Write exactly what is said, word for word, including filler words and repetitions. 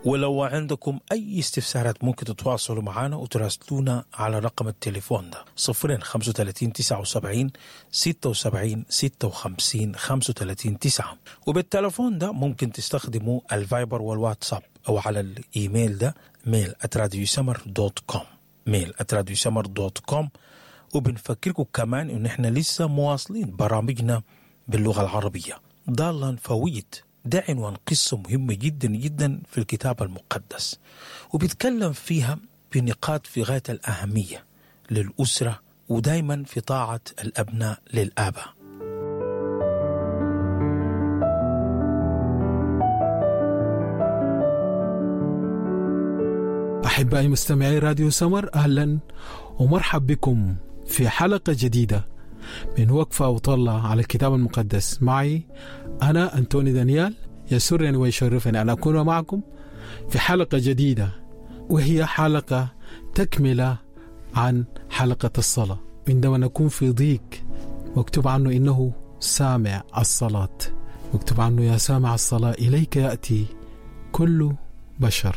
ولو عندكم أي استفسارات ممكن تتواصلوا معنا وتراسلونا على رقم التليفون ده صفرين خمسة وتلاتين تسعة وسبعين ستة وسبعين ستة وخمسين خمسة وتلاتين تسعة. وبالتلفون ده ممكن تستخدموا الفايبر والواتساب أو على الإيميل ده mail at radiosummer dot com، mail at radiosummer dot com. وبنفكركم كمان إن إحنا لسه مواصلين برامجنا باللغة العربية. ضالا فويد ده عنوان قصة مهمة جدا جدا في الكتاب المقدس، وبيتكلم فيها بنقاط في غاية الأهمية للأسرة ودايما في طاعة الأبناء للآباء. أحبائي مستمعي راديو سمر، أهلا ومرحب بكم في حلقة جديدة من وقفة وطلة على الكتاب المقدس. معي أنا أنتوني دانيال، يسرني ويشرفني أن أكون معكم في حلقة جديدة، وهي حلقة تكملة عن حلقة الصلاة. عندما نكون في ضيق مكتوب عنه إنه سامع الصلاة، مكتوب عنه يا سامع الصلاة إليك يأتي كل بشر.